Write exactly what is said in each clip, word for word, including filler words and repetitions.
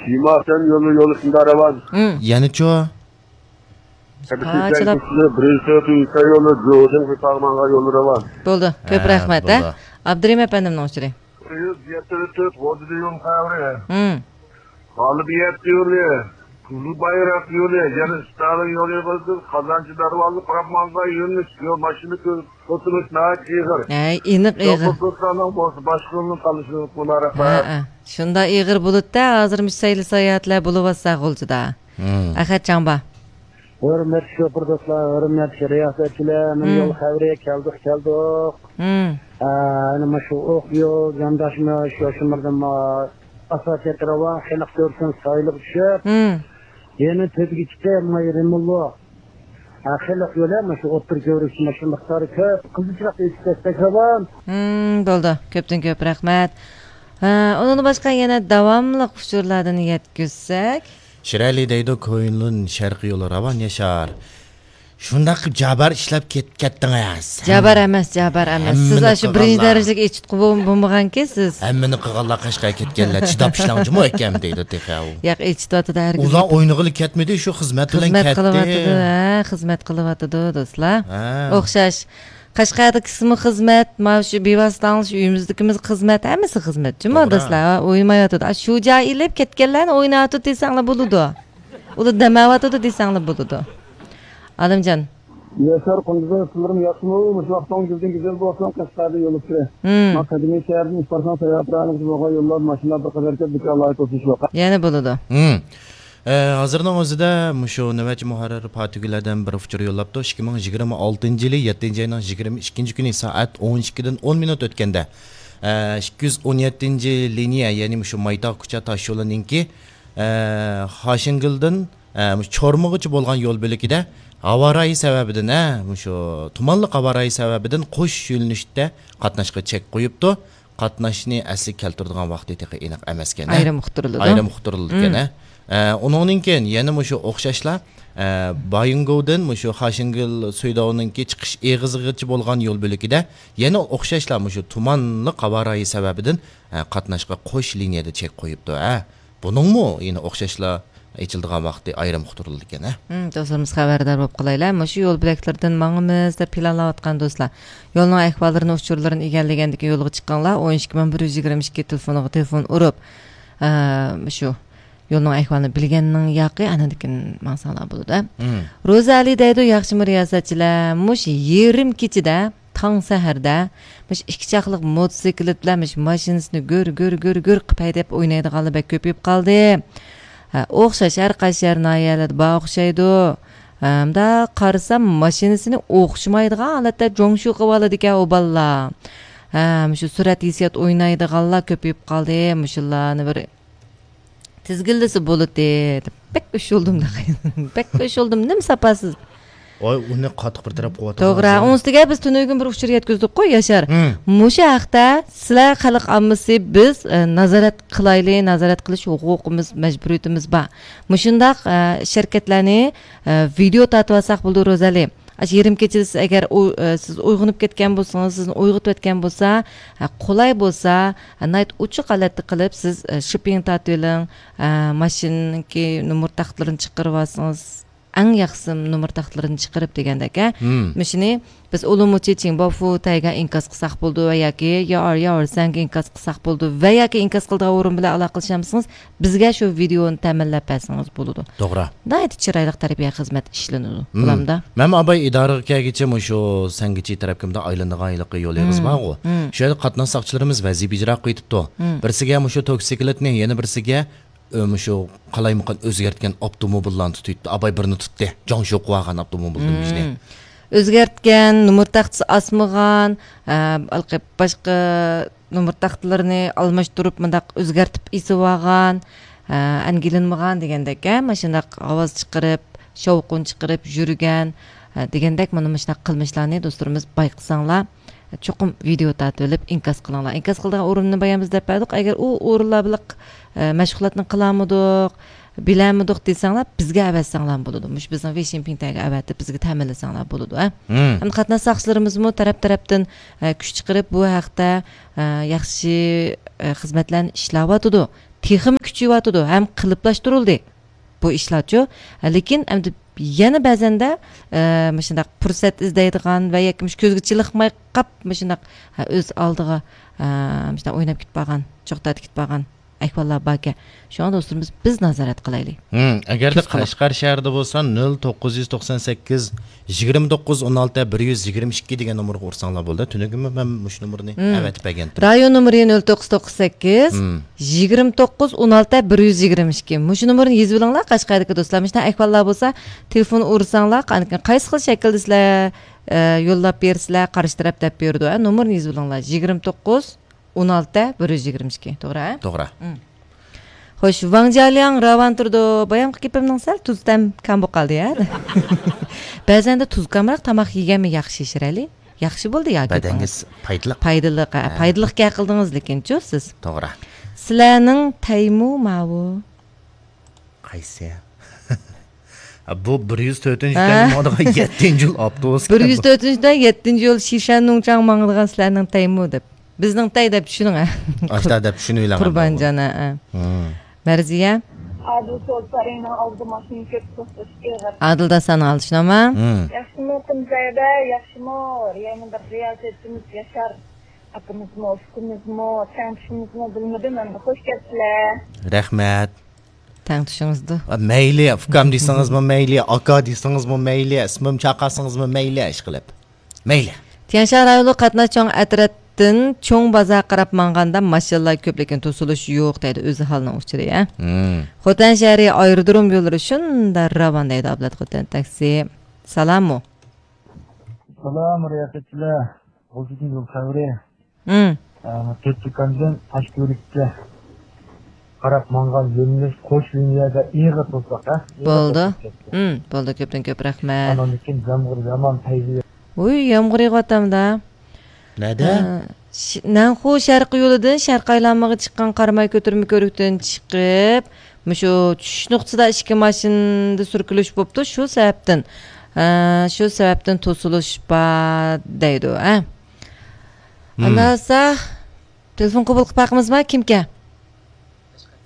شىماسەن يولى، يولى شۇنداق راۋان. ھىم. يەنىچۇ؟ قاچىلاپ. بىرىنچى تۆت يولى، جوزىن قىتاغمانغا يولى راۋان. بولدى. كۆپ ھە، رەھمەت، ھە؟ بولدى. ئابدۇرېھىم ئەپەندىمنىڭ ئۇچۇرى. يۈز يەتتە تۆت غوجىدىيون قەبرە. ھىم. غالىبىيەت يولى، قىزىل بايراق يولى، يەنە ستالىن يولى بولسۇن، قازانچى دەرۋازا، قاپمانغا يۆنىلىش يول ماشىنا توسۇلۇش ناھايىتى ئېغىر. ھەي، ئېنىق ئېغىر. يولدا توسقاننىڭ بولسا باشقا يولنى تاللىشىڭىز مۇبارەك. ھەئە. شۇنداق ئېغىر بولۇتتا، ھازىر مۇشۇ سەيلە ساياھەتلەر بولۇۋاتسا غۇلجىدا. ھىم. ئەخەت جاڭبا. ھۆرمەتلىك شوپۇر دوستلار، ھۆرمەتلىك رىياسەتچىلەر، مانا ھىم. يول خەۋىرى كەلدۇق، كەلدۇق. ھىم. ئە، ئەنە مۇشۇ ئوق يول، جانداشمۇ شۇ شۇمۇردىن ئاساسىي راۋان، خەلق كۆرسۇن سايلىغا چۈشۈپ. ھىم. يەنە تۆپىگە چىقىپ، مايرىمۇللۇق. ھە، خەلق يولى مۇشۇ ئوتتۇرا كۆۋرۈك ماشىنا مىقدارى كۆپ. قىزىل چىراغدا ئۆتۈپ كەتسەك راۋان. ھىم، بولدى. كۆپتىن كۆپ رەھمەت. ھە، ئۇنىڭدىن باشقا يەنە داۋاملىق ئۇچۇرلاردىن يەتكۈزسەك. شىرئەلى دەيدۇ، كويلۇن شەرقىي يولى راۋان ياشار. شۇنداق قىلىپ جابار ئىشلەپ كەت-، كەتتىڭىز. جابار ئەمەس، جابار ئەمەس. سىز ھەممىنى ئاشۇ بىرىنچى قىلغانلار. دەرىجىلىك ئېچىتقۇ بول-، بولمىغانكى سىز. ھەممىنى قىلغانلار قەشقەرگە كەتكەنلەر، چىداپ ئىشلەڭ جۇمۇ ئەكەم دەيدۇ تېخى ئۇ. ياق، ئېچىتىۋاتىدۇ ھەرگىز. ئۇلار ئوينىغىلى كەتمىدى، شۇ خىزمەت بىلەن خىزمەت كەتتى. قىلىۋاتىدۇ، ھە، خىزمەت قىلىۋاتىدۇ دوستلار. ھە. ئوخشاش. قەشقەردىكىسىمۇ خىزمەت، مانا شۇ بىۋاسىتە ئاڭلىشىش ئۆيىمىزدىكىمىز خىزمەت، ھەممىسى خىزمەت جۇمۇ توغرا. دوستلار، ئويمايۋاتىدۇ. ئا، شۇ جاي ئېلىپ كەتكەنلەرنى ئويناۋاتىدۇ دېسەڭلار بولىدۇ. ئۇلار دەم ئېلىۋاتىدۇ دېسەڭلار بولىدۇ. ئالىمجان. ياشار قۇندىزىم، سىلىرمۇ ياخشىمۇ؟ مۇشۇ ۋاقتىڭىز گۈزەل بولسۇن، قەشقەردىن يول ئۇچۇرى. ھىم. ما قەدىمىي شەھەردىن ئىش بارساڭ، ساياھەتلەرنىڭ بولغان يوللار، ماشىنىلار بىر قەدەر كۆپ، دۇكانلار توسۇش يوق. يەنە بولىدۇ. ھىم. ئە، ھازىرنىڭ ئۆزىدە مۇشۇ نۆۋەتچى مۇھەررىر پاتىگۈلەردىن بىر ئۇچۇر يوللاپتۇ. ئىككى مىڭ يىگىرمە ئالتىنچى يىلى يەتتىنچى ئاينىڭ يىگىرمە ئىككىنچى كۈنى سائەت ئون ئىككىدىن ئون مىنۇت ئۆتكەندە، ئە، ئىككى يۈز ئون يەتتىنچى لىنىيە، يەنى مۇشۇ مايتاغ كۇچا تاشيولىنىڭكى، ئە، خاشىنگىلدىن، ئە، مۇشۇ چورمىغىچە بولغان يول بۆلىكىدە ھاۋا رايى سەۋەبىدىن، ئە، مۇشۇ تۇمانلىق ھاۋا رايى سەۋەبىدىن قوش يۆنىلىشتە قاتناشقا چەك قويۇپتۇ. قاتناشنى ئەسلىگە كەلتۈرىدىغان ۋاقتى تېخى ئېنىق ئەمەسكەن، ھە؟ ئايرىم ئۇقتۇرۇلىدۇ. ئايرىم ئۇقتۇرۇلىدىكەن، ھە؟ ئە، ئۇنىڭدىن كېيىن يەنە مۇشۇ ئوخشاشلا، ئە، بايىنگوۋدىن مۇشۇ خاشىنگىل سۇيداۋنىڭكى چىقىش ئېغىزىغىچە بولغان يول بۆلىكىدە يەنە ئوخشاشلا مۇشۇ تۇمانلىق ھاۋا رايى سەۋەبىدىن، ئە، قاتناشقا قوش لىنىيەدە چەك قويۇپتۇ، ھە؟ بۇنىڭمۇ يەنە ئوخشاشلا ئېچىلىدىغان ۋاقتى ئايرىم ئۇقتۇرۇلىدىكەن، ھە؟ ھىم، دوستلىرىمىز خەۋەردار بولۇپ قالايلى. مۇشۇ يول بۆلەكلىرىدىن ماڭىمىز دەپ پىلانلاۋاتقان دوستلار، يولنىڭ ئەھۋاللىرىنى، ئۇچۇرلىرىنى ئىگىلىگەندىن كېيىن يولغا چىقىڭلار. ئون ئىككى مىڭ بىر يۈز يىگىرمە ئىككى تېلېفونىغا تېلېفون ئۇرۇپ، ئە، مۇشۇ يولنىڭ ئەھۋالىنى بىلگەننىڭ ياقى، ئاندىن كېيىن ماڭساڭلار بولىدۇ، ھە؟ ھىم. روزا ئەلى دەيدۇ، ياخشىمۇ رىياسەتچىلەر؟ مۇشۇ يېرىم كېچىدە تاڭ سەھەردە مۇشۇ ئىككى چاقلىق موتوسىكلىت بىلەن مۇشۇ ماشىنىسىنى گۈر، گۈر، گۈر، گۈر قىلىپ ھەيدەپ ئوينايدىغانلار بەك كۆپىيىپ قالدى. ھە، ئوخشاش ھەر قايسى شەھەر، ناھىيەلەردە بار ئوخشايدۇ. ھە، مۇنداق قارىسام، ماشىنىسىنى ئوخشىمايدىغان ھالەتتە جوڭشۇ قىلىۋالىدىكەن ئۇ بالىلار. ھە، مۇشۇ سۈرئەت ھېسسىيات ئوينايدىغانلار كۆپىيىپ قالدى. مۇشۇلارنى بىر تىزگىنلىسە بولىدى دەپ بەك ئۇشۇلدۇم. بەك ئۇشۇلدۇم، نېمە ساپاسىز. ۋاي، ئۇنى قاتتىق بىر تەرەپ قىلىۋاتىدۇ توغرا، ھازىر. ئۇنىڭ ئۈستىگە بىز تۈنۈگۈن بىر ئۇچۇر يەتكۈزدۇققۇ، ياشار. ھىم. مۇشۇ ھەقتە سىلەر خەلق ئاممىسى بىز، ئە، نازارەت قىلايلى، نازارەت قىلىش ھوقۇقىمىز، مەجبۇرىيىتىمىز بار. مۇشۇنداق، ئە، ئىش ھەرىكەتلەرنى، ئە، ۋىدېئو تارتىۋالساق بولىدۇ، روزەلى. ئاشۇ يېرىم كېچىدە سىز ئەگەر ئۇ، ئە، سىز ئويغىنىپ كەتكەن بولسىڭىز، سىزنى ئويغىتىۋەتكەن بولسا، ئە، قولاي بولسا، ئە، ناھايىتى ئوچۇق ھالەتتە قىلىپ سىز، ئە، شىپپىڭ تارتىۋېلىڭ، ئە، ماشىنىنىڭكى نومۇر تاختىلىرىنى چىقىرىۋالسىڭىز، ئەڭ ياخشىسى نومۇر تاختىلىرىنى چىقىرىپ دېگەندەك، ھە؟ ھىم. مۇشۇنى بىز ئۇلۇمۇچى چىڭباۋفۇ تەيگە ئىنكاس قىلساق بولىدۇ ۋە ياكى ياۋر ياۋر سەنگە ئىنكاس قىلساق بولىدۇ ۋە ياكى ئىنكاس قىلىدىغان ئورۇن بىلەن ئالاقىلىشالمىسىڭىز، بىزگە شۇ ۋىدېئونى تەمىنلەپ بەرسىڭىز بولىدۇ. توغرا. ناھايىتى چىرايلىق تەربىيە خىزمەت ئىشلىنىدۇ. ھىم. بولامدا؟ مەن ئاباي ئىدارىگە كەلگىچە مۇشۇ سەنگىچى تەرەپكە مۇنداق ئايلىنىدىغان ھېلىقى يول ئېغىزى ھىم. بارغۇ. ھىم. شۇ يەردە قاتناش ساقچىلىرىمىز ۋەزىپە ئىجرا قىلىۋېتىپتۇ. ھىم. بىرسىگە مۇشۇ توكسىكلىتنى، يەنە بىرسىگە ئۆ، مۇشۇ قالايمىقان ئۆزگەرتكەن ئاپتوموبىللارنى تۇتۇۋېتىپتۇ. ئاباي بىرنى تۇتتى. جاڭشۇ قىلىۋالغان ئاپتوموبىلدىن بىزنى. مم. ئۆزگەرتكەن، نومۇر تاختىسى ئاسمىغان، ئە، ھېلىقى باشقا نومۇر تاختىلىرىنى ئالماشتۇرۇپ، مۇنداق ئۆزگەرتىپ ئېسىۋالغان، ئە، ئەنگىلىنمىغان دېگەندەك، ئە، ماشۇنداق ئاۋاز چىقىرىپ، شاۋقۇن چىقىرىپ يۈرگەن، ئە، دېگەندەك مانا مۇشۇنداق قىلمىشلارنى دوستلىرىمىز بايقىساڭلار، چوقۇم ۋىدېئو تارتىۋېلىپ ئىنكاس قىلىڭلار. ئىنكاس قىلىدىغان ئورۇننى بايام بىز دەپ بەردۇق. ئەگەر ئۇ ئورۇنلار بىلەن، ئە، مەشغۇلاتنى قىلالمىدۇق، بىلەلمىدۇق دېسەڭلار، بىزگە ئەۋەتسەڭلارمۇ بولىدۇ. مۇشۇ بىزنىڭ ۋېيشىن پىڭتەيگە ئەۋەتىپ، بىزگە تەمىنلىسەڭلار بولىدۇ، ھە؟ مم. ھەم قاتناش ساقچىلىرىمىزمۇ تەرەپ-تەرەپتىن، ئە، كۈچ چىقىرىپ، بۇ ھەقتە، ئە، ياخشى، ئە، خىزمەتلەرنى ئىشلەۋاتىدۇ. تېخىمۇ كۈچىيىۋاتىدۇ ھەم قېلىپلاشتۇرۇلدى بۇ ئىشلارچۇ. لېكىن ئەمدى يەنە بەزەندە، ئە، مۇشۇنداق پۇرسەت ئىزدەيدىغان ۋە ياكى مۇشۇ كۆزگە چېلىقماي قاپ، مۇشۇنداق، ھە، ئۆز ئالدىغا، ئە، مۇشۇنداق ئويناپ كېتىپ بارغان، چوقتادا كېتىپ بارغان ئەھۋاللار باركەن. شۇڭا دوستلىرىمىز، بىز نازارەت قىلايلى. ھىم، ئەگەردە قەشقەر شەھىرىدە بولسا، نۆل توققۇز يۈز توقسان سەككىز، يىگىرمە توققۇز، ئون ئالتە، بىر يۈز يىگىرمە ئىككى دېگەن نومۇرغا ئۇرساڭلار بولدى. تۈنۈگۈنمۇ مەن مۇشۇ نومۇرنى ھىم. ئەۋەتىپ بەرگەنتىم. رايون نومۇرى نۆل توققۇز توققۇز سەككىز، ھىم. يىگىرمە توققۇز، ئون ئالتە، بىر يۈز يىگىرمە ئىككى. مۇشۇ نومۇرنى يېزىۋېلىڭلار، قەشقەردىكى دوستلار. مۇشۇنداق ئەھۋاللار بولسا، تېلېفون ئۇرساڭلار، قاندىكىن قايسى خىل شەكىلدە سىلەر، ئە، يوللاپ بېرىسىلەر، قارشى تەرەپ دەپ بېرىدۇ، ھە؟ نومۇرنى يېزىۋېلىڭلار، يىگىرمە توققۇز، ئون ئالتە، بىر يۈز يىگىرمە ئىككى، توغرا، ھە؟ توغرا. مم. خوش، ۋاڭ جيالياڭ راۋان تۇرىدۇ. بايامقى گېپىمنىڭ سەل تۇز تەم كەم بولۇپ قالدى، ھە؟ بەزەندە تۇز كەمرەك تاماق يېگەنمۇ ياخشى، شىرئەلى. ياخشى بولدى يا گېپىڭىز؟ بەدەنگە پايدىلىق. پايدىلىق، ھە، ھە. پايدىلىق گەپ قىلدىڭىز لېكىنچۇ سىز. توغرا. سىلەرنىڭ تەيمۇ ماۋۇ؟ قايسى؟ بۇ بىر يۈز تۆتىنچى ھە؟ تەيمۇ ماڭىدىغان يەتتىنچى يول ئاپتوبۇس. بىر يۈز تۆتىنچى تەي يەتتىنچى يول شىشەن نۇڭچاڭ ماڭىدىغان سىلەرنىڭ تەيمۇ دەپ. بىزنىڭ تەي دەپ چۈشىنىڭ، ھە؟ ئاشتا دەپ چۈشىنىۋېلىڭ. قۇربانجان، ھە، ھە. ھىم. مەرزىيە. ئادىل سول سارىيىنىڭ ئالدىدا ماشىنا كۆپ توختىتىش ئېغىر. ئادىل داسان ئالدىشىناما؟ ھىم. ياخشىمۇ قۇمسەيدە، ياخشىمۇ؟ يەنە بىر رىياسەتچىمىز ياشار ئاكىمىزمۇ، ئۇكىمىزمۇ، تەڭتۇشىمىزمۇ بىلمىدىم ئەمدى. خوش كەپسىلەر. رەھمەت. تەڭتۇشىڭىزدۇ. ئا، مەيلى، ئۇكام دېسىڭىزمۇ مەيلى، ئاكا دېسىڭىزمۇ مەيلى، ئىسمىم چاقاسىڭىزمۇ مەيلى، ئىشقىلىپ. مەيلى. تيەنشان رايونلۇق قاتناش چوڭ ئەترەتتىن چوڭ بازار قاراپ ماڭغاندا ماشىنىلار كۆپ، لېكىن توسۇلۇش يوق دەيدۇ. ئۆزى ھالنىڭ ئۇچۇرى، ھە؟ مم. خوتەن شەھىرى ئايرودروم يوللىرى شۇنداق راۋان دەيدۇ ئابلەت خوتەن تاكسى. سالاممۇ؟ سالام، رىياسەتچىلەر. غۇلجىدىن يول خەۋىرى. مم. ئە، تۆت دۇكاندىن تاشكۆۋرۈككە قاراپ ماڭغان يۆنىلىش قوش لىنىيەدە ئېغىر توساق، ھە؟ ئېغىر بولدى. توساق كەتتى. مم، بولدى، كۆپتىن كۆپ رەھمەت. ئاندىن كېيىن يامغۇر يامان پەيزى. ۋۇي، يامغۇر يېغىۋاتامدا. نەدە؟ ئە، ش-، نەنخۇ شەرقىي يولىدىن شەرقىي ئايلانمىغا چىققان قاراماي كۆتۈرمە كۆۋرۈكتىن چىقىپ، مۇشۇ چۈشۈش نۇقتىسىدا ئىككى ماشىنىدا سۈركىلىش بوپتۇ. شۇ سەۋەبتىن، ئە، شۇ سەۋەبتىن توسۇلۇش بار دەيدۇ، ھە؟ مم. ئاندىن بولسا، تېلېفون قوبۇل قىلىپ باقىمىزما؟ كىمكەن؟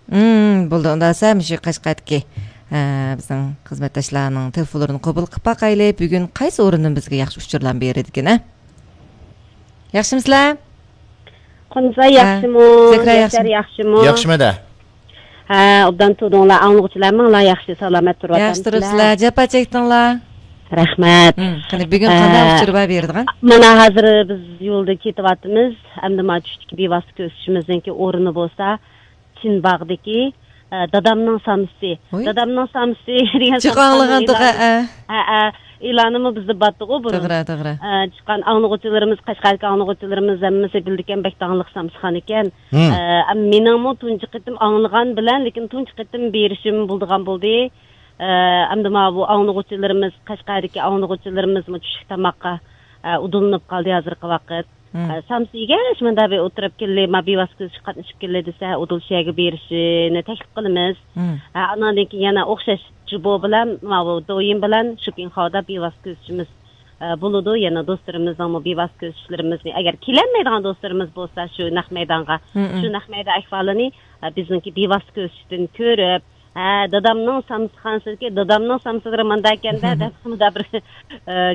مم، بولدى. ئۇنداق بولسا، مۇشۇ قەشقەردىكى، ئە، بىزنىڭ خىزمەتداشلارنىڭ تېلېفونلىرىنى قوبۇل قىلىپ باقايلى. بۈگۈن قايسى ئورۇندىن بىزگە ياخشى ئۇچۇرلارنى بېرىدىكىن، ھە؟ ياخشىمۇسىلەر؟ قۇنزا ھە. ياخشىمۇ؟ زەھرا ياشار ياخشىمۇ؟ ياخشىمۇ؟ ياخشىمۇ-دە. ھە، ئوبدان تۇردۇڭلار، ئاڭلىغۇچىلار ماڭىلار ياخشى، سالامەت ياخشى تۇرۇپسىلەر. تۇرۇپسىلەر. جاپا چەكتىڭلار. رەھمەت. ھىم، قېنى، بۈگۈن ئە، قانداق ئۇچۇر بار بېرىدىغان؟ مانا ھازىر بىز يولدا كېتىۋاتىمىز. ئەمدى مانا چۈشتىكى بىۋاسىتە كۆرۈشۈشىمىزنىڭكى ئورنى بولسا چىنباغدىكى، ئە، دادامنىڭ سامسىسى. ھوي. دادامنىڭ سامسىسى دېگەن جىق سامسىنىڭ ئاڭلىغانتۇق، ئېلانى. ھە، ھە. ھە، ھە. ئېلانىمۇ بىزدە بارتتىغۇ بۇرۇن. توغرا، توغرا. ئە، چىققان ئاڭلىغۇچىلىرىمىز، قەشقەردىكى ئاڭلىغۇچىلىرىمىز ھەممىسى بىلىدىكەن، بەك داڭلىق سامسىخان ئىكەن. ھىم. ئە، ئەم، مېنىڭمۇ تۇنجى قېتىم ئاڭلىغان بىلەن، لېكىن تۇنجى قېتىم بېرىشىم بولىدىغان بولدى. ئە، ئەمدى ماۋۇ ئاڭلىغۇچىلىرىمىز، قەشقەردىكى ئاڭلىغۇچىلىرىمىزمۇ چۈشلۈك تاماققا، ئە، ئۇدۇللىنىپ قالدى ھازىرقى ۋاقىت. مم. ئە، سامسا يېگەچ مۇندا بىر ئولتۇرۇپ كەلدى، ما بىۋاسىتە كۆرۈشۈشكە قاتنىشىپ كەلدى دېسە، ئۇدۇل شۇ يەرگە بېرىشىنى تەكلىپ قىلىمىز. مم. ئە، ئاناندىن كېيىن يەنە ئوخشاش جۇبو بىلەن، ماۋۇ دويىن بىلەن شوپىڭخاۋدا بىۋاسىتە كۆرۈشۈشىمىز، ئە، بولىدۇ. يەنە دوستلىرىمىزنىڭمۇ بىۋاسىتە كۆرۈشۈشلىرىمىزنى، ئەگەر كېلەلمەيدىغان دوستلىرىمىز بولسا، شۇ نەق مەيدانغا، مم. شۇ نەق مەيدان ئەھۋالىنى، ئە، بىزنىڭكى بىۋاسىتە كۆرۈشۈشتىن كۆرۈپ، ھە، دادامنىڭ سامسىخانىسىدىكى، دادامنىڭ سامسىلىرى مۇنداكەندە، دەپ مۇندا بىر، ئە،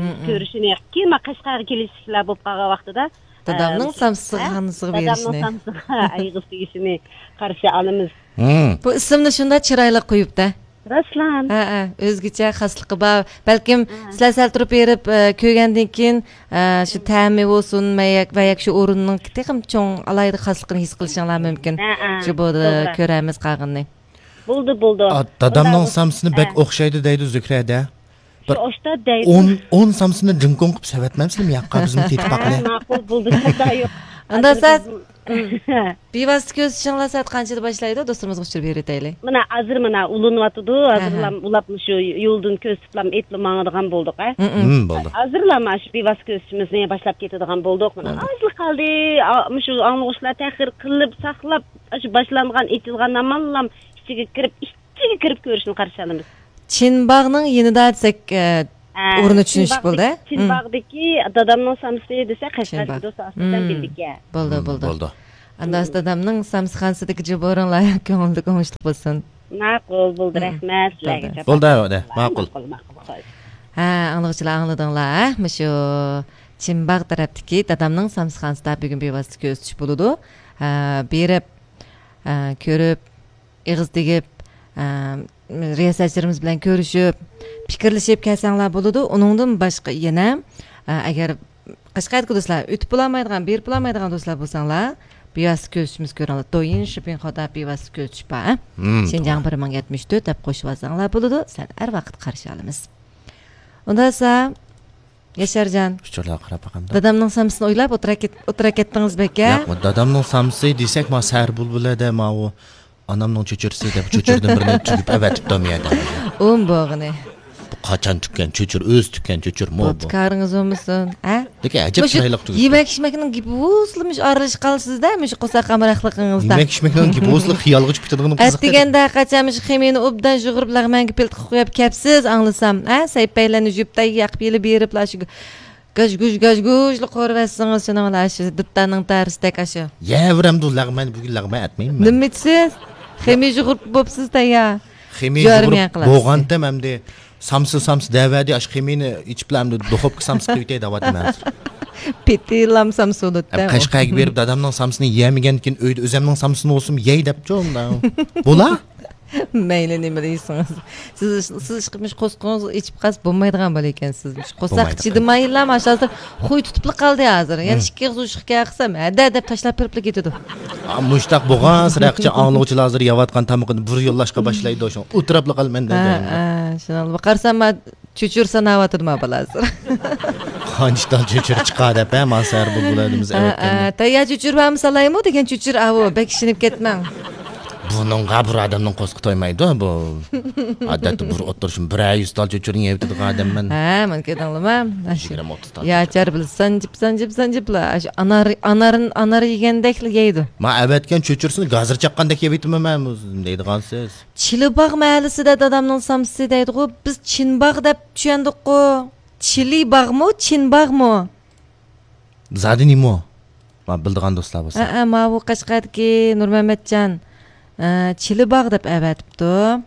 مم، مم. كۆرۈشىنى. كېيىن ما قەشقەرگە كېلىشلىكلەر بولۇپ قالغان ۋاقتىدا، دادامنىڭ ئە، سامسىخانىسىغا ھە، دادامنىڭ بېرىشنى. سامسىخا ئېغىز تېگىشىنى قارشى ئالىمىز. مم. بۇ ئىسىمنى شۇنداق چىرايلىق قويۇپتۇ. راسلا. ھە، ھە، ئۆزگىچە خاسلىقى بار. بەلكىم ھە. سىلەر سەل تۇرۇپ بېرىپ، ئە، كۆرگەندىن كېيىن، ئە، شۇ تەمى بولسۇن، مەيەك، ۋە ياكى شۇ ئورۇننىڭ تېخىمۇ چوڭ ئالاھىدە خاسلىقىنى ھېس قىلىشىڭلار مۇمكىن. ھە، ھە. شۇ بۇدا توغرا. كۆرەرمىز قالغىنىنى. بولدى، بولدى. ئا، دادامنىڭ ئۇنداق سامسىسىنى بەك ھە. ئوخشايدۇ دەيدۇ زۆھرەدە. بىر شۇ ئوخشايدۇ دەيدۇ. ئون، ئون سامسىنى جىڭكوڭ قىلىپ سېۋەتمەمسىلىم ياققا بىزمۇ تېتىپ ھە، باقىلى. ماقۇل، بولدى، خاتا يوق. ئۇنداق ھازىر سەت بىز بىۋاسىتە كۆرۈشۈشۈڭلار سائەت قانچىدا باشلايدۇ؟ دوستلىرىمىزغا ئۇچۇر بېرىۋېتەيلى. مانا ھازىر مانا ئۇلىنىۋاتىدۇ. ھە، ھە. ھازىرلام ئۇلاپ مۇشۇ يولدىن كۆرسىتىپلام ئېتىپلا ماڭىدىغان بولدۇق، ھە. مم، مم. مم، بولدى. ھازىرلا مانا شۇ بىۋاسىتە كۆرۈشۈشىمىزنى باشلاپ كېتىدىغان بولدۇق. مانا بولدى. ئازلا قالدى. ئا، مۇشۇ ئاڭلىغۇچىلار تەخىر قىلىپ، ساقلاپ، شۇ باشلانغان، ئېچىلغان ئامانلام ئىچىگە كىرىپ، ئىچىگە كىرىپ كۆرۈشنى قارشى ئالىمىز. چىنباغنىڭ يېنىدا دېسەك، ئە، ئە، ئورنى چۈشىنىشلىك چىنباغدىكى، بولدى. مم. چىنباغدىكى دادامنىڭ سامسىسى دېسە، قەشقەردىكى چىنباغ. دوست ئاساسەن مم. بىلدىكەن. بولدى، مم، بولدى. بولدى. ئانداس دادامنىڭ سامسىخانىسىدىكى جۇبۇرۇڭلار كۆڭۈلدە ئوڭۇشلۇق بولسۇن. ماقۇل، بولدى، رەھمەت سىلەرگە. بولدى، بولدى. ماقۇل. ماقۇل، ماقۇل، خوش. ھە، ئاڭلىغۇچىلار ئاڭلىدىڭلار، ھە؟ مۇشۇ چىمباغ تەرەپتىكى دادامنىڭ سامسىخانىسىدا بۈگۈن بىۋاسىتە كۆرسىتىش بولىدۇ. ھە، بېرىپ، ھە، كۆرۈپ، ئېغىز تېگىپ، ھە، رىياسەتچىلىرىمىز بىلەن كۆرۈشۈپ، پىكىرلىشىپ كەلسەڭلار بولىدۇ. ئۇنىڭدىن باشقا يەنە، ھە، ئەگەر قەشقەردىكى دوستلار، ئۆتۈپ بولالمايدىغان، بېرىپ بولالمايدىغان دوستلار بولساڭلار، بىۋاسىتە كۆرۈشۈمىز كۆرۈڭلار. دويىن شىپىڭ خودا بىۋاسىتە كۆرۈشۈش بار، ھە؟ شىنجاڭ بىر مىڭ يەتمىش تۆت دەپ قوشۇۋالساڭلار بولىدۇ. سىلەرنى ھەر ۋاقىت قارشى ئالىمىز. ئۇندىسا، ياشارجان. ئۇچۇرلارغا قاراپ باقامدا. دادامنىڭ سامسىسىنى ئويلاپ ئولتۇرا كەت-، ئولتۇرا كەتتىڭىز بەك، ھە؟ ياق، دادامنىڭ سامسىسى دېسەك، ما سەھەر بۇلبۇلىدە ماۋۇ ئانامنىڭ چۆچۈرىسى دەپ، چۆچۈرىدىن بىرنى تۈگۈپ ئەۋەتىپتۇ مۇ يەردە. ئۇم بوغىنى. بۇ قاچان تۈگكەن چۆچۈر، ئۆزى تۈگكەن چۆچۈر مو بۇ. بوپتۇ، كارىڭىز بولمىسۇن. ھە؟ لېكىن ئەجەب مۇشۇ چىرايلىق تۈگۈپ. يېمەك ئىچمەكنىڭ گېپى بولسىلا مۇشۇ ئارىلىشىپ قالىسىز-دە، مۇشۇ قورساق ئامراقلىقىڭىزدا. يېمەك ئىچمەكنىڭ گېپى بولسىلا خىيالغا چۈشۈپ كېتىدىغىنى قىزىق. ئەتىگەندە قاچان مۇشۇ خېمىرنى ئوبدان يۇغۇرۇپ، لەغمەنگە پىلتىقى قويۇپ كەپسىز، ئاڭلىسام. ھە؟ سەيپەيلەرنى يۇيۇپ، تەييار قىلىپ، يېلىپ بېرىپلا شۇ گاژ-گۇژ، گاژ-گۇژلا قورۇۋەتسىڭىز، شۇنىڭ بىلەن ئاشۇ دۇتارنىڭ تارىسىدەك ئاشۇ. يەۋېرەمدۇ لەغمەن، بۈگۈن لەغمەن ئەتمەيمەن. نېمە ئېيتىسىز؟ خېمىر يۇغۇرۇپ بوپسىز تەييار. خېمىر يۇغۇرۇپ بولغانتىم ئەمدى سامسا، سامسا دەۋەردى، ئاشۇ خېمىرنى ئېچىپلا ئەمدى دۇخوپكا سامسا قىلىۋېتەي دەۋاتىمەن ھازىر. پېتىلام سامسا بولۇپتۇ. ھەم قەشقەرگە بېرىپ دادامنىڭ سامسىنى يېمىگەندىكىن ئۆيدە ئۆزەمنىڭ سامسىنى بولسىمۇ يەي دەپچۇ ئۇنداق. بولا؟ مەيلى نېمە دېسىڭىز. سىز، سىز ئىشقىلىپ مۇشۇ قورسىقىڭىزنى ئېچىپ قالسا بولمايدىغان بالا ئىكەنسىز. مۇشۇ قورساق چىدىمايلا، مانا ھازىر خۇي تۇتۇپلا قالدى ھازىر. يەنە ئىككى ئېغىز ئۇششۇق گەپ قىلسام، ھەدە دەپ تاشلاپ بېرىپلا كېتىدۇ. مۇشۇنداق بولغانسېرى ئاڭلىغۇچىلار ھازىر يەۋاتقان تامىقىنى بىر يوللاشقا باشلايدۇ، شۇڭا ئولتۇراپلا قالىمەن دەيدۇ. ھە، ھە، شۇنىڭغا قارىسام، چۆچۈر ساناۋاتىدۇ ما بالا ھازىر. قانچە تال چۆچۈر چىقار دەپ، ھە، مانا سەھەر بۇلبۇلىمىز ئەۋەتكەندە. تەييار چۆچۈر بارمۇ سالايمۇ دېگەن چۆچۈر ئاۋۇ، بەك ئىشىنىپ كەتمەڭ. بۇنىڭغا بىر ئادەمنىڭ قورسىقى تويمايدۇ بۇ. ئادەتتە بىر ئولتۇرۇشۇم بىرەر يۈز تال چۆچۈرنى يەۋېتىدىغان ئادەممەن. ھە، مانا كۆردۈڭلىما؟ يىگىرمە، ئوتتۇز تال يا چۆچۈر. چار بىلەن سانجىپ، سانجىپ، سانجىپلا، ئاشۇ ئانار، ئانار، ئانار يېگەندەكلا يەيدۇ. ما ئەۋەتكەن چۆچۈرىسىنى گازىر چاققاندەك يەۋېتىمەن مەن، دەيدىغانسىز. چىلىباغ مەھەللىسىدە دادامنىڭ سامسىسى دەيدىغۇ، بىز چىنباغ دەپ چۈشەندۇققۇ. چىلىباغمۇ، چىنباغمۇ؟ زادى نېمە؟ ما بىلىدىغان دوستلار بولسا. ھەئە، ماۋۇ قەشقەردىكى نۇرمەمەتجان، ئە، چىلىباغ دەپ ئەۋەتىپتۇ.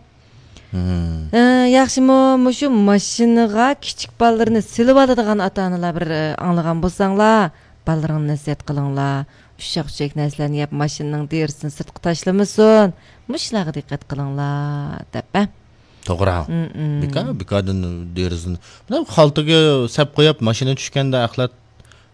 مم. ئە، ياخشىمۇ، مۇشۇ ماشىنىغا كىچىك بالىلىرىنى سېلىۋالىدىغان ئاتا-ئانىلار بىر، ئە، ئاڭلىغان بولساڭلار، بالىلىرىڭلارنى نەسىھەت قىلىڭلار. ئۇششاق-چۈششەك نەرسىلەرنى يەپ، ماشىنىنىڭ دېرىزىسىنى سىرتقا تاشلىمىسۇن. مۇشۇلارغا دىققەت قىلىڭلار، دەپ، ئە. توغرا. مم، مم. بىكار، بىكاردىن دېرىزىنى. مانا خالتىگە سەپ قويۇپ، ماشىنا چۈشكەندە ئەخلەت،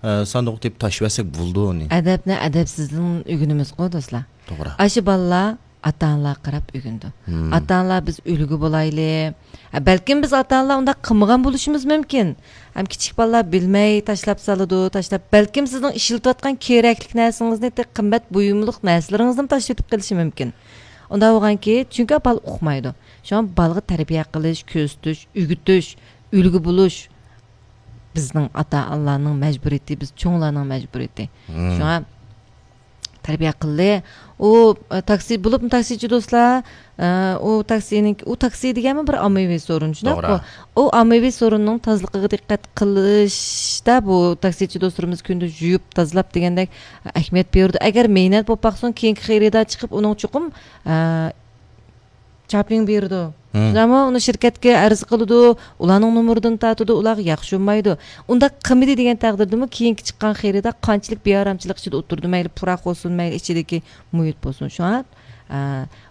ئە، ساندۇققا تېپىپ تاشلىۋەتسەك بولىدۇ ئۇنى. ئەدەپنى ئەدەپسىزدىن ئۆگىنىمىزغۇ، دوستلار. توغرا. ئاشۇ بالىلار ئاتا-ئانىلارغا قاراپ ئۆگىنىدۇ. مم. ئاتا-ئانىلار بىز ئۈلگە بولايلى. ھە، بەلكىم بىز ئاتا-ئانىلار ئۇنداق قىلمىغان بولۇشىمىز مۇمكىن. ھەم كىچىك بالىلار بىلمەي تاشلاپ سالىدۇ، تاشلاپ، بەلكىم سىزنىڭ ئىشلىتىۋاتقان كېرەكلىك نەرسىڭىزنى، قىممەت بۇيۇملۇق نەرسىلىرىڭىزنىمۇ تاشلىۋېتىپ قېلىشى مۇمكىن. ئۇنداق بولغانكى، چۈنكى بالا ئۇقمايدۇ. شۇڭا بالىغا تەربىيە قىلىش، كۆزىتىش، ئۆگىتىش، ئۈلگە بولۇش بىزنىڭ ئاتا-ئانىلارنىڭ مەجبۇرىيىتى، بىز چوڭلارنىڭ مەجبۇرىيىتى. مم. شۇڭا تەربىيە قىلدى. ئۇ، ئە، تاكسى بولۇپمۇ تاكسىچى دوستلار، ئە، ئۇ تاكسىنىڭ، ئۇ تاكسى دېگەنمۇ بىر ئاممىۋى سورۇن، شۇنداققۇ؟ توغرا. ئۇ ئاممىۋى سورۇننىڭ تازىلىقىغا دىققەت قىلىشتا بۇ تاكسىچى دوستلىرىمىز كۈندە يۇيۇپ، تازىلاپ دېگەندەك ئەھمىيەت بېرىدۇ. ئەگەر مەينەت بولۇپ باقسۇن، كېيىنكى خېرىدار چىقىپ ئۇنىڭ چوقۇم، ئە، چاپلىڭ بېرىدۇ. مم. شۇنداقمۇ؟ ئۇنى شىركەتكە ئەرز قىلىدۇ، ئۇلارنىڭ نومۇرىدىن تارتىدۇ، ئۇلارغا ياخشى بولمايدۇ. ئۇنداق قىلمىدى دېگەن تەقدىردىمۇ، كېيىنكى چىققان خېرىدار قانچىلىك بىئارامچىلىق ئىچىدە ئولتۇرىدۇ، مەيلى پۇراق بولسۇن، مەيلى ئىچىدىكى مۇھىت بولسۇن. شۇڭا، ئە،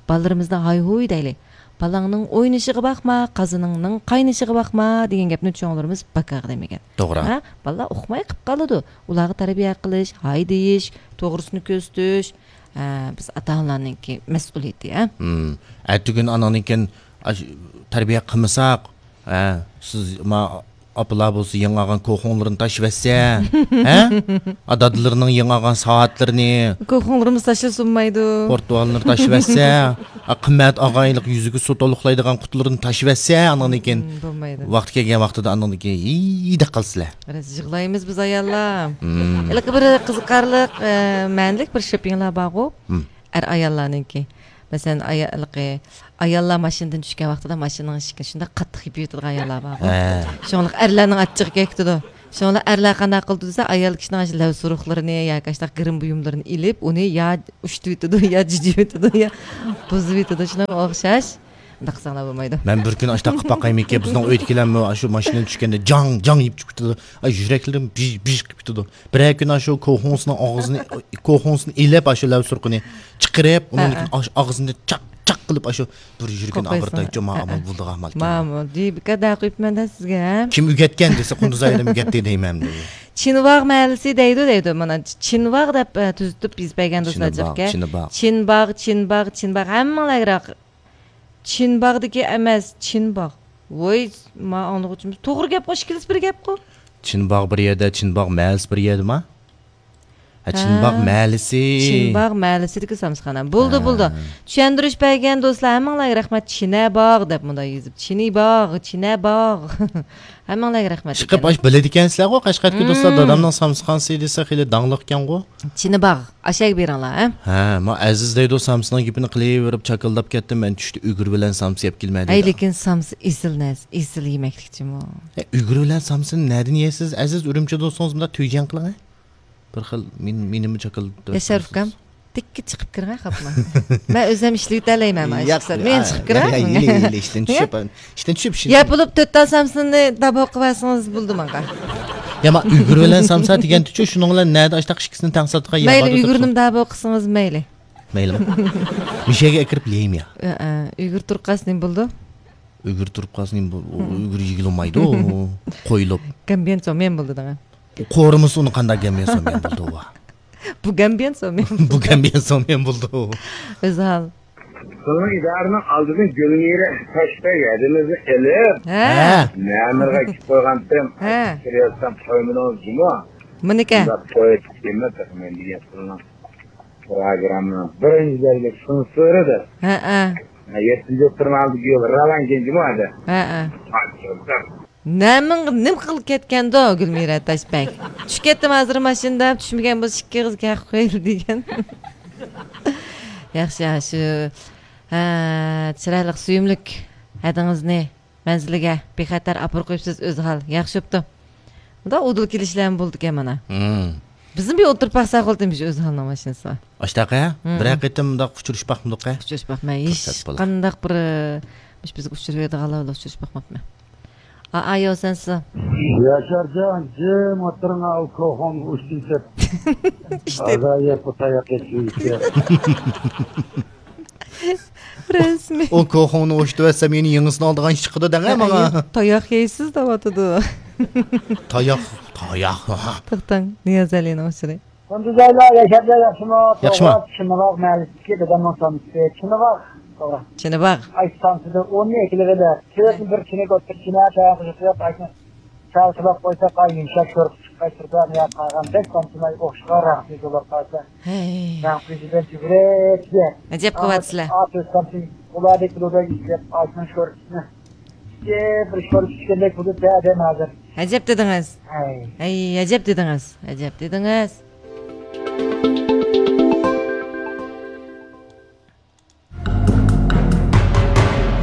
بالىلىرىمىزنى ھاي-ھۇي دەيلى. «بالاڭنىڭ ئوينىشىغا باقما، قازىنىڭنىڭ قاينىشىغا باقما» دېگەن گەپنى چوڭلىرىمىز بەك دېمىگەن. توغرا. ھە؟ بالىلار ئۇقماي قىپ قالىدۇ. ئۇلارغا تەربىيە قىلىش، ھاي دېيىش، توغرىسىنى كۆرسىتىش، ئە، بىز ئاتا-ئانىلارنىڭكى مەسئۇلىيىتى، ھە؟ مم. ئەتىگۈن ئاناڭدىن كېيىن، ئاش-، تەربىيە قىلمىساق، ھە، سىز، ما، ئاپىلار بولسا يېڭى ئالغان كوخۇڭلىرىنى تاشلىۋەتسە، ھە؟ ئا، دادىلىرىنىڭ يېڭى ئالغان سائەتلىرىنى. كوخۇڭلىرىمىز تاشلىسۇنمايدۇ. پورتۇغاللىرىنى تاشلىۋەتسە، ئا، قىممەت ئاغايلىق يۈزىگە سۇ تولۇقلايدىغان قۇتىلىرىنى تاشلىۋەتسە، ئانىڭدىن كېيىن، مم، بولمايدۇ. ۋاقتى كەلگەن ۋاقتىدا ئانىڭدىن كېيىن ھىي دەپ قالىسىلەر. بىراز يىغلايمىز بىز ئاياللار. مم. ھېلىقى بىر قىزىقارلىق، ئە، مەنىلىك بىر شېپىڭلار بارغۇ. مم. ئەر ئاياللارنىڭكى. مەسىلەن، ئايا-، ھېلىقى ئاياللار ماشىنىدىن چۈشكەن ۋاقتىدا ماشىنىنىڭ ئىشىكىنى شۇنداق قاتتىق يېپىۋېتىدىغان ئاياللار بارغۇ. ھە. شۇڭلۇق ئەرلەرنىڭ ئاچچىقى كەكتىدۇ. شۇڭلا ئەرلەر قانداق قىلىدۇ دېسە، ئايال كىشىنىڭ ئاشۇ لەۋ سۇرۇقلىرىنى ياكى ئاشۇنداق گىرىم بۇيۇملىرىنى ئېلىپ، ئۇنى يا ئۇشتۇۋېتىدۇ، يا جىجىۋېتىدۇ، يا بۇزۇۋېتىدۇ. شۇنىڭغا ئوخشاش. ئۇنداق قىلساڭلار بولمايدۇ. مەن بىر كۈنى ئاشۇنداق قىلىپ باقايمىكىن، بىزنىڭ ئۆيدىكىلەرمۇ ئاشۇ ماشىنىدىن چۈشكەندە جاڭ جاڭ يېپىپ چىقىپ كېتىدۇ. ئاي، يۈرەكلىرىم بىژ بىژ قىلىپ كېتىدۇ. بىرەر كۈنى ئاشۇ كوخۇنسنىڭ ئاغزىنى، كوخۇنسنى ئېلىپ، ئاشۇ لەۋ سۇرۇقىنى چىقىرىپ، ئۇنىڭ ھە، ھە. ئاش-، ئاغزىنى چاق چاق قىلىپ، ئاشۇ بىر يۈرىكىنى قوقايسىڭ. ئاغرىتايچۇ، ما ھە، ھە. ئامال بولىدىغان ئامالكەن. ماما، دېبىكە دە قويۇپمەن دە سىزگە. كىم ئۆگەتكەن دېسە، قۇندۇز ئايالىم ئۆگەتتى دەيمەن. چىنۋاغ مەھەللىسى دەيدۇ، دەيدۇ. مانا چىنۋاغ دەپ، ئە، تۈزىتىپ يېزىپ بەرگەن دوستلار چىنباغ، جىقكە. چىنباغ. چىنباغ، چىنباغ، چىنباغ. ھەممىڭلارغا چىنباغدىكى ئەمەس، چىنباغ. ۋوي، ما ئاڭلىغۇچىمىز. توغرا گەپقۇ، ئىككىلىسى بىر گەپقۇ. چىنباغ بىر يەردە، چىنباغ مەھەللىسى بىر يەردىما؟ ھە، چىنباغ ھە. مەھەللىسى. چىنباغ مەھەللىسىدىكى سامسىخانا. بولدى، ھە. بولدى. چۈشەندۈرۈش بەرگەن دوستلار، ھەممىڭلارغا رەھمەت. چىنەباغ دەپ مۇنداق يېزىپ. چىنىباغ، چىنەباغ. ھەممىڭلارغا رەھمەت. ئىشقىلىپ، ئاشۇ بىلىدىكەنسىلەرغۇ، قەشقەردىكى دوستلار، مم. دادامنىڭ سامسىخانىسى دېسە خېلى داڭلىقكەنغۇ. چىنىباغ. ئاشەگە بېرىڭلار، ھە؟ ھە، ما ئەزىز دەيدۇ، سامسىنىڭ گېپىنى قىلىۋېرىپ چاكىلداپ كەتتىم، مەن چۈشتە ئۈگرە بىلەن سامسا يەپ كېلىمەن دېدى. ھەي، لېكىن سامسا ئېسىل نەرسە، ئېسىل يېمەكلىكچىمۇ. ئە، ئۈگرە بىلەن سامسىنى نەدىن يەيسىز؟ ئەزىز، ئۈرۈمچىدە بولسىڭىز مۇنداق تۈيجەڭ قىلىڭ، ھە؟ بىر خىل مېنى، مېنىمۇ چاكىلداپ. ياشار ئۇكام، تىككە چىقىپ كىرىڭ، ھە، خاپما. مەن ئۆزۈم ئىشلىۋېتەلەيمەن، مانا، ياق، ئىشقا سەل. مەن ئا، چىقىپ كىرەي. يا، يا، يېلى، يېلى، ئىشتىن چۈشۈپ، ئىشتىن، ئىشتىن چۈشۈپ، ئىشتىن ياپىلىپ تۆت تال سامسىنى داپ قىلىۋەرسىڭىز بولدى ماڭا. يا، ما ئۈگرە بىلەن سامسا دېگەنتىچۇ، شۇنىڭ بىلەن نەدە ئاشتاق ئىككىسىنى تەڭ ساتىدىغان يەر مەيلى، باردا ئۈگرىنىمۇ داپ قىلسىڭىز مەيلى. مەيلىمۇ؟ مۇشۇ يەرگە ئەكىرىپ يەيمۇ يا؟ ئە، ئە، ئۈگرە تۇرۇپ قالسا نېمە بولىدۇ؟ ئۈگرە تۇرۇپ قالسا نېمە بول-، ئۇ ئۈگرە يېگىلى بولمايدۇ، قويۇلۇپ. گەمبىيەن سوميەن بولىدۇ دەڭە. قورۇمىسا ئۇنى قانداق گەمبىيەن سوميەن بولىدۇ ئۇ؟ بۇ گەمبىيەن سوميەن. بۇ گەمبىيەن سوميەن بولىدۇ. ئۆزھال. بۇنىڭ ئىدارىنىڭ ئالدىدىن گۈلمىرە تاشبەگ ھەدىمىزنى ئېلىپ، ھە. ھە. مەمۇرغا ئېكىپ قويغانتىم. ھە. كىرىۋەتسەم قويمىدىڭىز جۇمۇ. مېنىكى. شۇنداق توي قىلىپ كېلىمەن دېگەن پۇلنىڭ پروگراممىنىڭ بىرىنچى بەلگىلىك سېنسورىدۇر. ھە، ھە. يەتتىنچى ئوتتۇرا مەھەللىدىكى يول راۋان كەنجىمۇ ھەدە. ھە، ھە. نەمىڭ-، نېمە قىلىپ كەتكەندۇ گۈلمىرە تاشبەگ؟ چۈشۈپ كەتتىم ھازىر ماشىنىدا، چۈشمىگەن بولسا ئىككى ئېغىز گەپ قىل دېگەن. ياخشى، ياخشى. ھە، چىرايلىق، سۆيۈملۈك ھەدىڭىزنى مەنزىلىگە بىخەتەر ئاپىرىپ قويۇپسىز، ئۆزھال. ياخشى بوپتۇ. مۇنداق ئۇدۇل كېلىشلەرمۇ بولىدىكەن مانا. ھىم. بىزمۇ بىر ئولتۇرۇپ باقساق بولدى، مۇشۇ ئۆزھالنىڭ ماشىنىسىغا. ئاشتاقە، ھىم. بىرەر قېتىم مۇنداق ئۇچرىشىپ باقمىدۇق-ھە؟ ئۇچرىشىپ باقماي. ھېچ قانداق بىر، مۇشۇ بىزگە ئۇچرىۋېرىدىغانلار بىلەن ئۇچرىشىپ باقماپمەن. ئا، ئا، يو، سەنسۇ. ياشارجان، جىم ئولتۇرۇڭ، ئۇ كوخون ئۇشتىن كەپ. ئىشتە. ھازا يەپ، بۇ تاياق يەپ، يېيىشكە. رەسمىي. ئۇ كوخوننى ئوشتۇۋەتسەم، يەنە يېڭىسىنى ئالىدىغان ئىش چىقىدۇ دەڭە ماڭا. تاياق يەيسىز دەۋاتىدۇ. تاياق، تاياق. توختاڭ، نىيازئەلىنىڭ ئۇچۇرى. قۇندۇزئايلار، ياشارجان ياخشىمۇ؟ ياخشىمۇ؟ توغرا، چىنىۋاغ مەھەللىسىدىكى دادامنىڭ سامسىسى. چىنىۋاغ، توغرا. چىنىۋاغ. ئايسى سامسىدىن ئوننى ئېكىلىۋېلىپ، سېۋەتنى بىر چىنىك ئوتتۇرا چىنە، چايان قوشۇپ قويۇپ، ئايسىنى چاغ سۇلاپ قويسا، قاي يۇمشاق شورپا چىققاچ، سىرتىغا نىياز قالغاندەك، سامسىماي ئوخشىغان رەڭسىز بولۇپ قالسا. ھەي. رەڭ پېشىدىن جۈگرەپ كېتىپ. ئەجەب قىلىۋاتىسىلەر. ئاتۇز سامسىم ئۇلاردەك بولىدۇ دەپ، ئايسىنىڭ شورپىسىنى. بىر شورپا ئىچكەندەك بولۇپ بەردىم ھازىر. ئەجەب دېدىڭىز. ھەي. ھەي، ئەجەب دېدىڭىز. ئەجەب دېدىڭىز.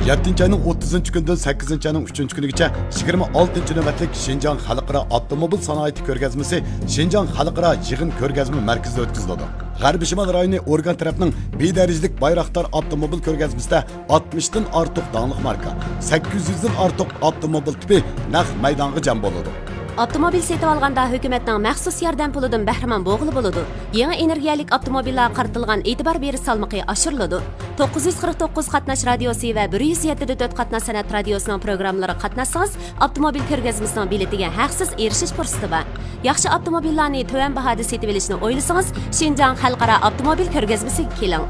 يەتتىنچى ئاينىڭ ئوتتۇزىنچى كۈنىدىن سەككىزىنچى ئاينىڭ ئۈچىنچى كۈنىگىچە يىگىرمە ئالتىنچى نۆۋەتلىك شىنجاڭ خەلقئارا ئاپتوموبىل سانائىتى كۆرگەزمىسى شىنجاڭ خەلقئارا يىغىن كۆرگەزمە مەركىزىدە ئۆتكۈزۈلىدۇ. غەربىي شىمال رايونى ئورگان تەرەپنىڭ بىر دەرىجىلىك بايراقدار ئاپتوموبىل كۆرگەزمىسىدە ئاتمىشتىن ئارتۇق داڭلىق ماركا، سەككىز يۈزدىن ئارتۇق ئاپتوموبىل تىپى نەق مەيدانغا جەم بولىدۇ. ئاپتوموبىل سېتىۋالغاندا ھۆكۈمەتنىڭ مەخسۇس ياردەم پۇلىدىن بەھرىمەن بولغىلى بولىدۇ. يېڭى ئېنېرگىيەلىك ئاپتوموبىللارغا قارىتىلغان ئېتىبار بېرىش سالمىقى ئاشۇرۇلىدۇ. توققۇز يۈز قىرىق توققۇز قاتناش رادىيوسى ۋە بىر يۈز يەتتە دە تۆت قاتناش سەنئەت رادىيوسىنىڭ پروگراممىلىرىغا قاتناشسىڭىز، ئاپتوموبىل كۆرگەزمىسىنىڭ بېلىتىگە ھەقسىز ئېرىشىش پۇرسىتى بار. ياخشى ئاپتوموبىللارنى تۆۋەن باھادا سېتىۋېلىشنى ئويلىسىڭىز، شىنجاڭ خەلقئارا ئاپتوموبىل كۆرگەزمىسىگە كېلىڭ.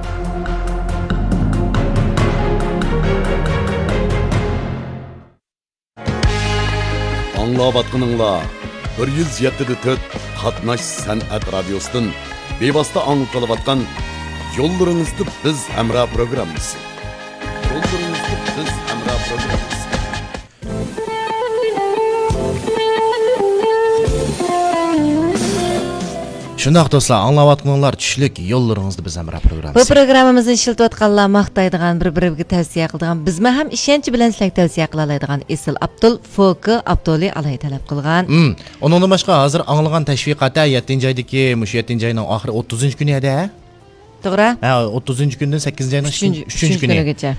ئاڭلاۋاتقىنىڭلار بىر يۈز يەتتە دە تۆت قاتناش سەنئەت رادىيوسىدىن بىۋاسىتە ئاڭلىتىلىۋاتقان يوللىرىڭىزدا بىز ھەمراھ پروگراممىسى. يوللىرىڭىزدا بىز ھەمراھ پروگراممىسى. شۇنداق دوستلار، ئاڭلاۋاتقىنىڭلار چۈشلۈك يوللىرىڭىزدا بىز ھەمراھ پروگراممىسى. بۇ پروگراممىمىزنى ئىشلىتىۋاتقانلار ماختايدىغان، بىر بىرىگە تەۋسىيە قىلىدىغان، بىزمۇ ھەم ئىشەنچ بىلەن سىلەرگە تەۋسىيە قىلالايدىغان ئېسىل ئابدۇل فوكى ئابدۇلى ئالاھىدە تەلەپ قىلغان. ئۇنىڭدىن باشقا ھازىر ئاڭلىغان تەشۋىقات ھە يەتتىنچى ئايدىكى، مۇشۇ يەتتىنچى ئاينىڭ ئاخىرى ئوتتۇزىنچى كۈنى ھەدە. توغرا. ھە، ئوتتۇزىنچى كۈندىن سەككىزىنچى ئاينىڭ ئۈچىنچى كۈنى. كۈنىگىچە.